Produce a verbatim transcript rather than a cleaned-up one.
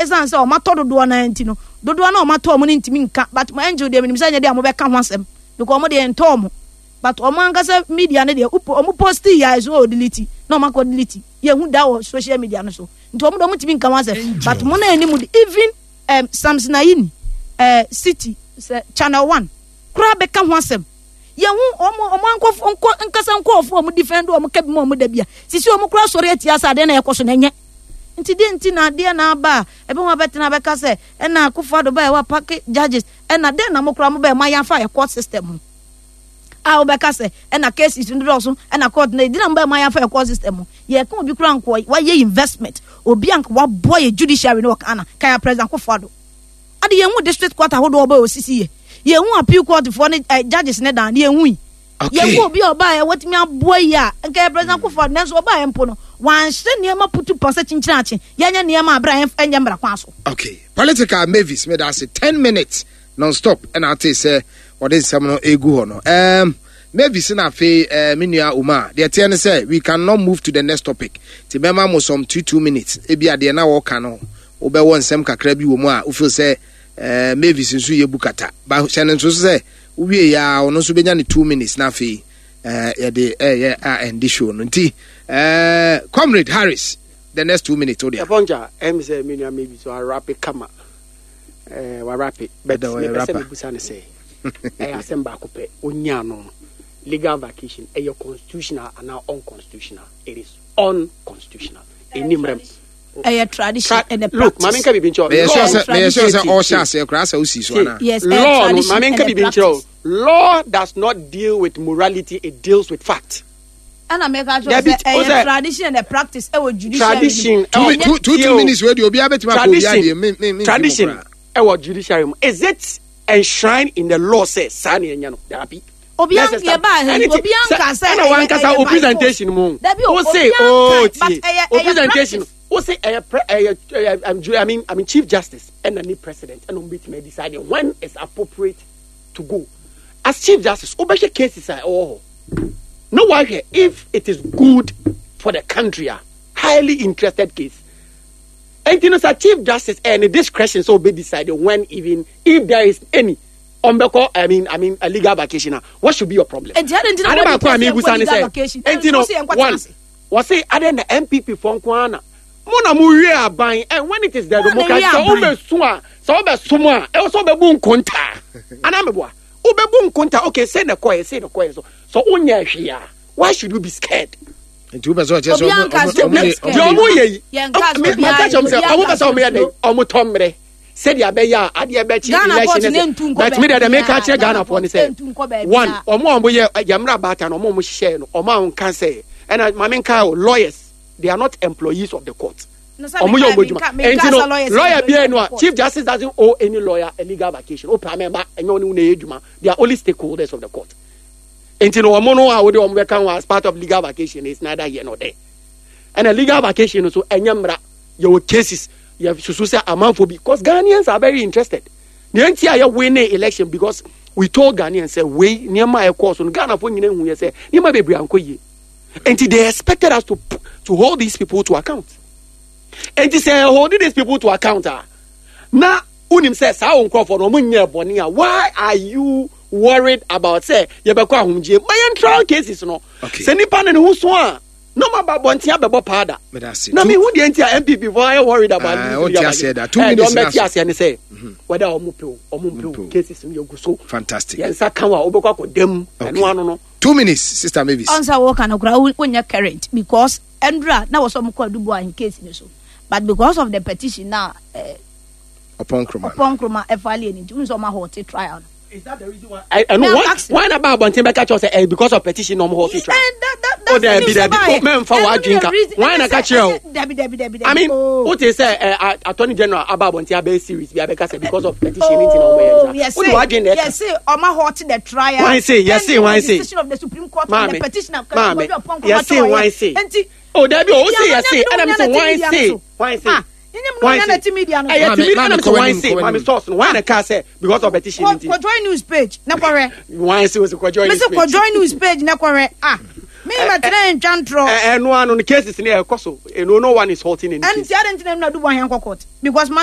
Ɛsiane sɛ ɔmo atɔ dodoɔ naa nti no, dodoɔ na ɔmo atɔ ɔmo no ntumi nka. But mo Angel deɛ, menim sɛ nyɛ deɛ a mobɛka ho asɛm because ɔmo deɛ ntɔ ɔmo, but ɔmo ankasa media no deɛ, ɔmo post yɛ a ɛso ɔ delete na ɔmo akɔ delete. Yɛhu da wɔ social media no so, nti ɔmo de ɔmo ntumi nka ho asɛm. But mo na anim de, even um, Samson Ayini, uh, City sɛ Channel One koraa bɛka ho asɛm. Yɛhu ɔmo ɔmo ankɔfo nkɔ nkasa nkɔɔfo, ɔmo defend ɔmo ka bi mu, ɔmo da bia sisi ɔmo koraa sɔre atia sɛ adeɛ na ɛkɔ so na ɛnyɛ. Nti deɛ nti na adeɛ na aba a ebi wɔn abɛtena abɛka sɛ ɛna Akufo Addo bɛyɛ wa pack judges, ɛna den na mo koraa mo bɛyɛ mo ayɛ afa yɛ court system ho a wobɛka sɛ ɛna cases no dɔɔso, ɛna court na ɛdi na mo bɛyɛ mo ayɛ afa yɛ court system ho? Yɛka obi koraa nkɔ wayɛ investment, obi anka waboa yɛ judiciary no wɔ Ghana kaya President Akufo Addo ade. Yɛn hu district court ahodoɔ ɔbɛ osisi yɛ, yɛn hu appeal court foɔ ne ɛ judges ne dan yɛn hu yi. Okay. Yɛn hu obi a ɔbaa yɛ wɔtumi aboa yi a nka yɛ President Akufo Addo, nanso ɔbaa yɛ mpo no wanhyɛ nneɛma putu pa sɛ kyinkyin akye yɛnyɛ nneɛma abere a ɛnyɛ mmara kwan so. Okay, political Mavis, meda ase. Ten minutes non-stop ɛna ate sɛ ɔde nsɛm no egu hɔ no. um, mavis na afei uh, me nua Uma deɛ teɛ ne sɛ we cannot move to the next topic, nti bɛma mo some two two minutes. Ebi adeɛ na wɔka no, wobɛwɔ nsɛm kakra bi wɔ mu a wofeel sɛ uh, Mavis nso yɛ bu kata ba hyɛ ne nso so sɛ wowie yɛ a, ɔno nso bɛnya ne two minutes na afei uh, yɛde ɛyɛ a ɛndi show no. Nti uh, Comrade Harris, the next two minutes wo deɛ. Ɛfɔnkya ɛm sɛ me nua maybe so arape kama, ɛɛ warape, but Ɛda wɔyɛ mepɛ sɛ rapper. Mebusa ne sɛ ɛyɛ asɛm baako pɛ onya no, legal vacation ɛyɛ constitutional anaa unconstitutional? It is unconstitutional, ɛni mmerɛm. Ɛyɛ tradition Tra- and a Look, maame practice. nka biribi nkyerɛ wo. Meyɛ sure Law- sɛ meyɛ sure sɛ Tie, ɔhyɛ tie. aseɛ koraa sɛ wosi so Tie. anaa? Yes, ɛyɛ Law no, tradition maame nka and a biribi nkyerɛ wo. practice. Law does not deal with morality, it deals with fact. Ɛna mɛka kyerɛ Dabi, sɛ o ɛyɛ sɛ- tradition and a practice ɛwɔ judiciary. Tradition two ɛwɔ- two two Tie two o. minutes wei deɛ, obiara bɛtumi akɔ obiara Tradition deɛ me me me tradition ɛwɔ judiciary mu, is it enshrined in the law sɛ saa na ɛnyɛ no? Dabi. Obi an yɛ ba obi anka sɛ ɛna wankasa o presentation mu Dabi o, o say obi o anka, but tie ɛyɛ- o ɛyɛ presentation practice. O say ɛyɛ pre ɛyɛ ɛyɛ um, ju- I mean I mean Chief Justice ɛna ne president ɛna ɔmo betumi decide when it's appropriate to go. As Chief Justice, o bɛhwɛ cases a ɛwɔ hɔ na wahwɛ if it is good for the country, a highly interested case. Nti no sɛ Chief Justice ɛyɛ ne discretion sɛ obe decide when, even if there is any ɔmbɛkɔ, I mean I mean a legal vacation a, what should be your problem? Enti adi nti na Ade wɔde baako a kɛseɛ mebusa nkɔ ne legal sɛ vacation. enti no Ɛnso sɛ yɛnkɔ one tena ase. Wɔse ade na N P P fɔ nko ara na mo na mo wie aban, and when it is the Mo na democracy wie sɛ aban. wobɛsu a, sɛ wobɛsom a, ɛwɔ sɛ wobɛbu nkontaa anaa meboa wobɛbu nkontaa. Okay, sɛ na kɔɛ sɛ na kɔɛ so so wonyɛ hwee a, why should you be scared? Nti wopɛ sɛ ɔkyerɛ sɛ Obi ɔmo- anka ɔmo- sɛ ɔmo de- obi ɔmo deɛ de- ɔmo yɛ yi Yɛn ka sɛ me- obiara- maka kyerɛ ɔmo sɛ obiara ɔmo pɛ sɛ ɔmo yɛ dɛ suro. ɔmo tɔ mmerɛ sɛdeɛ abɛyɛ a adeɛ bɛkye Ghana court election ne ne ntu nkɔ sɛ, but me deɛ deɛ meka baabiara. kyerɛ Ghanafoɔ ne Ghana court ntu nkɔ sɛ baabiara. one, ɔmo a ɔmo yɛ yɛmmerɛ abaatan no, ɔmo a ɔmo hyehyɛ no, ɔmo a ɔnka sɛ ɛna maame nka o, lawyers, they are not employees of the court. No, sɛ Ɔmo yɛ menka- ɔmo adwuma. menka- menka Ɛnti no sɛ lawyers lawyer employees biara of no the a court. Chief Justice doesn't owe any lawyer a legal vacation. O pɛ amɛba ɛnyɛ ɔne wo na ɛyɛ adwuma. They are only stakeholders of the court. Nti no ɔmo no a wode ɔmo bɛka ho as part of legal vacation is neither here nor there. Ɛna legal vacation no so ɛnyɛ mmara. Yɛwɔ cases yɛ susu sɛ amanfo bi, because Ghanaians are very interested. Nea nti a yɛ win election, because we told Ghanaians sɛ wei nneɛma a ɛkɔɔ so no, Ghanafoɔ nyinaa hu yɛ sɛ nneɛma bebree ankɔ yie, nti they expected us to to hold these people to account. Nti sɛ hold these people to account a, na wonim sɛ saa wo nkurɔfoɔ no ɔmo nyɛ bɔne a, why are you worried about sɛ yɛbɛkɔ ahomgye ma yɛn trial cases no? Okay. Sɛ nipa no ne ho so a, na ɔmo aba abɔnten abɛbɔ paada. Meda ase. Na Two- mehu deɛ nti a N P P foɔ ayɛ worried about Ah, this wote legal aseɛ da. Two Eh, deɛ minutes ɔmbɛte na so. aseɛ ne sɛ whether ɔmo pe o, ɔmo mpe Mpe o, o. cases no yɛgu so. Fantastic. Yɛn nsa ka wo a, wobɛkɔ akɔ dam. Okay. Ɛno ano no. Two minutes, Sister Mavis. Ɔnsa wɔka no koraa wonyɛ current because ɛndra na wɔ sɛ ɔmo kɔ Adu Boahen case ni so, but because of the petition na eh, Ɔpɔn Nkroma. Ɔpɔn Nkroma ɛfile ni nti n sɛ ɔmo ahalte trial no. Is that the reason why? Ɛno Now, one ask- why na ba abɔnten bɛka kyerɛ wo sɛ eh, because of petition na ɔmo halt trial? Eh, that- that- Oh, that's the dabi, news dabi. about it. Oh, mɛmfa Ɛno w'adwene ne ka. reason- Why na ɛnyɛ ka sɛ- kyerɛ wo? ɛnyɛ- Dabi, dabi, dabi, I mean, dabi. wote sɛ eh, Attorney General aba abɔnten abɛyɛ series bi abɛka sɛ because of petition nti na ɔmo yɛ Oh, nsa. yes, Wode w'adwene na ɛka. yes, ɔmo halt the trial. Why say? Yes, say, why the say? decision of the Supreme Court on Maame, the petition of maame, Ɔpɔn Nkroma yes, say, why say? Nti Oh, dabi o, o say media yes say, no, ɛna mi nyɛ sɛ na why media say? no so. Why say? Ah, nyɛ mu Why no say? nyɛ na ti media no so. Ɛyɛ Maame, timi maame, ɛna mi kɔ sɛ why w'anim, say? kɔ Maame w'anim. source no, why na ka sɛ because of petition Kɔ nti? kɔ Joy News page na kɔhwɛ. Why say o sɛ kɔ Joy Mesi News kɔ page? Joy News page na kɔhwɛ. Ah, mi ma tena ntwa ntorɔ. Ɛ ɛno ano no, cases ni ɛkɔ so. No no one is halting any Ɛnti case. adi nti na adu Boahen kɔ court because